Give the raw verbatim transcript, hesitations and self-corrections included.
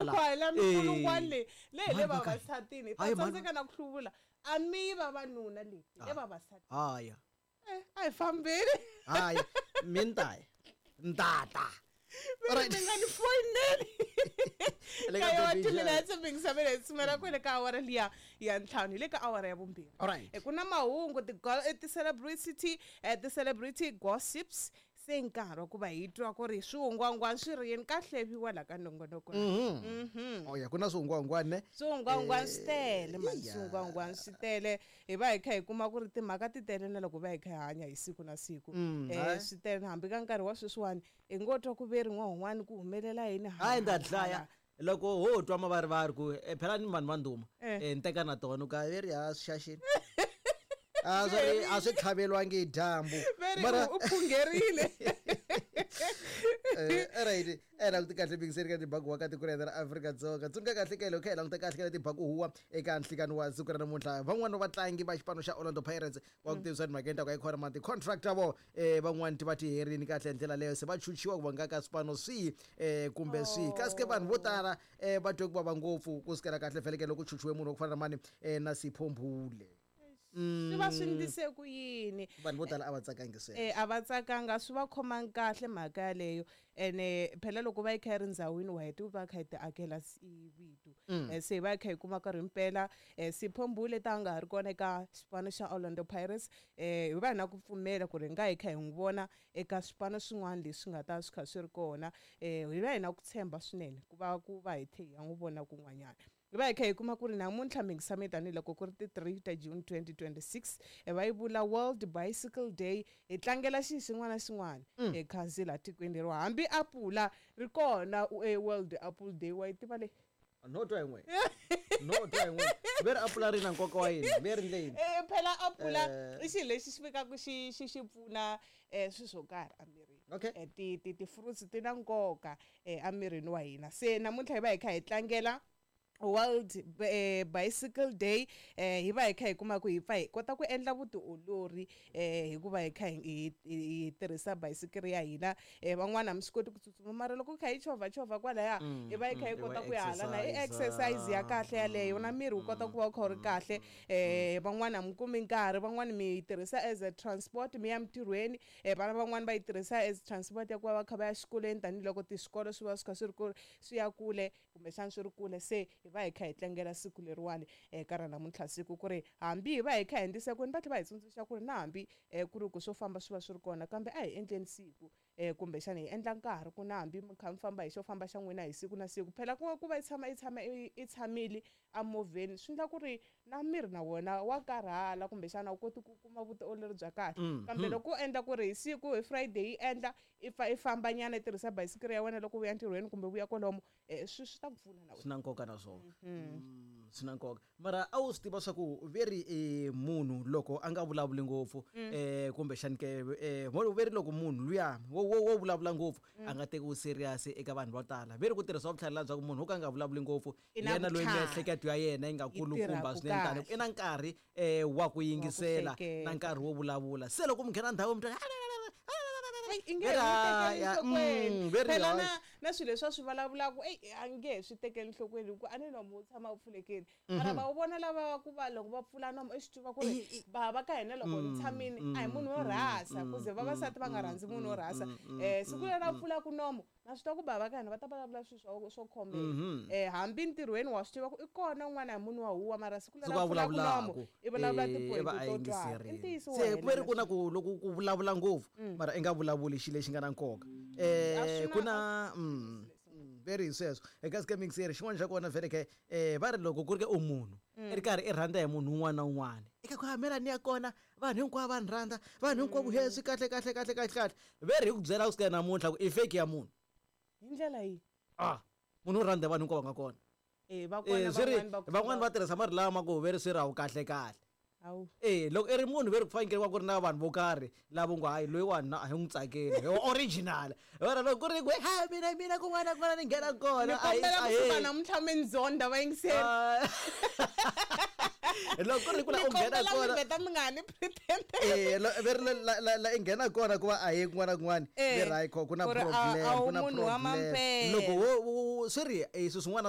La mikulungwana leyi leyi le vavasatini ta tsandzeka na ku hluvula a mi vavanuna leyi le vavasati haya eh a hi fambeni haya mintaya ntata right mi nga ni foyineli ka yo two minutes mingisavele tsumela kwele ka awara liya ya ntlhanu hi le ka awara ya vumbirhi alright ku na mahungu ti-celebrity ti-celebrity gossips se nkarhi wa ku va hi twa ku ri swihungwangwani swi ri yini ka hleviwa la ka nongonoko mhm oh ya ku na swihungwangwani ne swihungwangwani swi tele mani swihungwangwani swi tele hi va hi kha hi kuma ku ri timhaka ti tele na loko va hi kha hi hanya hi siku na siku eh swi tele hambi ka nkarhi wa sweswiwani hi ngo twa ku ve ri n'wan'wani ku humelela yini hayi nda dlaya loko ho twa mavarivari ku phela ni vanhu va ndhuma eh nteka na tona ka veri ha swi xaxini a swi a swi tlhavelwangi hi dyambu mara u phungerile eh right eh languta kahle bingiseri ka tibaku wa ka tiko ra Afrika-Dzonga tsundzuka kahle ka loko hi languta kahle ka tibaku huwa eka nhlikani wa siku ra namuntlha van'wana vatlangi va xipano xa Orlando Pirates wa ku tivisa timhaka ta ku yi khona ma ti-contract ta vona eh van'wana ti va ti herini kahle hi ndlela leyo se va chuchiwa ku va nga ka swipano swihi eh kumbe swihi kasi ke vanhu vo tala eh va twe ku vava ngopfu ku sukela kahle feleke loko chuchiwe munhu wa ku fana na mani eh na Sipho Mbule swi va swi ndlise ku yini vanhu vo tala a va tsakangi sweswo eh a va tsakanga swi va khomangi kahle mhaka yaleyo ene phela loko va yi kha yi ri ndzhawini wa heta va kha yi ti akela vito se va yi kha yi kuma karhi mpela Sipho Mbule ta nga ha ri kona eka xipano xa Orlando Pirates eh hi va na ku pfumela ku ri nga hi kha hi n'wi vona eka swipano swin'wana leswi nga ta swi kha swi ri kona eh hi va hi na ku tshemba swinene ku va ku va hi tlhe hi ya n'wi vona kun'wanyana hi va hi kha hi kuma ku ri namuntlha mingisame tanihiloko ku ri ti three ta June twenty twenty-six va yi vula World Bicycle Day hi tlangela xi xin'wana na xin'wana hi khansi laha tikweni leriwa hambi apula ri kona World Apple Day wa yi tiva leyi no twa yin'we no twa yin'we veri apula ri na nkoka wa yini veri ndle yini eh phela apula i xilo lexi xi fikaka xi xi xi pfuna eh swilo swo karhi emirini okay ti ti ti-fruits ti na nkoka emirini wa hina se namuntlha hi va hi kha hi tlangela World eh, Bicycle Day eh hi va hi kha hi kuma ku hi pfa hi kota ku endla vutiolori eh hikuva hi kha hi hi tirhisa bicycle ya hina eh van'wana mi swi koti ku tsutsuma mara loko kha hi chovha chovha kwalaya hi va hi kha hi kota ku ya hala na i exercise ya kahle yaleyo na miri wu kota ku va wu kha wu ri kahle eh van'wana mi kumi nkarhi van'wana mi yi tirhisa as a transport mi ya mintirhweni eh vana van'wana va yi tirhisa as transport ya ku va va kha va ya xikolweni tanihiloko tiswikolo swi va swi kha swi ri ku swi ya kule kumbexana swi ri kule se hi va hi kha hi tlangela siku leriwani eka ra namuntlha siku ku ri hambi hi va hi kha hi endlisa kwini va tlhela va hi tsundzuxa ku ri na hambi ku ri ku swo famba swi va swi ri kona kambe a hi endleni siku eh kumbexana hi endla nkarhi ku na hambi mi kha mi famba hi xo famba xa n'wina hi siku na siku phela ku ku va yi tshama yi tshama i tshamile emovheni swi endla ku ri na miri na wona wa karhala kumbexana u koti ku kuma vutiolori bya kahle kambe loko u endla ku ri hi siku hi Friday yi endla i pfa i famba nyana i tirhisa bayisikiri ya wena loko u ya ntirhweni kumbe vuya kwalomo swi swi ta ku pfuna na wena swi na nkoka na swona swi na nkoka mara a wu swi tiva swa ku veri munhu loko a nga vulavuli ngopfu um kumbexani ke um veri loko munhu luya wo wo wo vulavula ngopfu a nga tekiwi serious eka vanhu vo tala veri ku tirhisa vutlhari bya ku munhu wo ka a nga vulavuli ngopfu yena loyi miehleketo ya yena yi nga kulukumba swinene tani i na nkarhi um wa ku yingisela na nkarhi wo vulavula se loko mi nghena ndhawu mi twa i nge he enhlokweni phela na na swilo leswi a swi vulavulaka eyi a nge he swi tekeli enhlokweni hikuva a ni nomu wu tshama wu pfulekile mara va wu vona lava ku va loko va pfula nomu i swi tiva ku ri bava ka hina loko ni tshamile a hi munhu wo rhasa ku ze vavasati va nga rhandzi munhu wo rhasa um siku leri a pfulaka nomu na swi tiva ku bava ka hina va ta vulavula swilo swo swo khomeka eh hambi ntirhweni wa swi tiva ku i kona un'wana hi munhu wa huwa mara siku leri a pfulaka nomu i vulavula tipoyinti to twala i ntiyiso se ku ri ku na ku loko ku vulavula ngopfu mara i nga vulavuli xilo lexi nga na nkoka eh ku na very sweswo eka scamming series xin'wana xa kona vele ke eh va ri loko ku ri ke u munhu i ri karhi i rhandza hi munhu un'wana na un'wana eka ku hamela ni ya kona vanhu hinkwavo va ni rhandza vanhu hinkwavo he swi kahle kahle kahle kahle kahle ve ri hi ku byela ku sukela namuntlha ku i fake ya munhu hi ndlela yihi ah munhu u rhandza vanhu hinkwavo va nga kona eh va kona van'wana va van'wana va tirhisa marito lama ku ve ri swi rawu kahle kahle eh loko i ri munhu ve ri ku fanekele ku ri na vanhu vo karhi lava ngo hayi loyiwani a hi n'wi tsakeli hi original wena loko ku ri ku ha mina mina kun'wana na kun'wana ni nghena kona ni kombela kusuka namuntlha mi ndzonda vayingiseri Loko ku ri ku la Ni u nghena kombela mi kona vheta mi nga ha ni pretend. Eh, lo- ve ri la- la- la- la i nghena kona ku va a yi kun'wana na kun'wana Eh, ve ri hayi kho ku na ku ri a- problem a wu ku na munhu wa problem mampela. loko wo wo- wo- swi ri eh, swilo swin'wana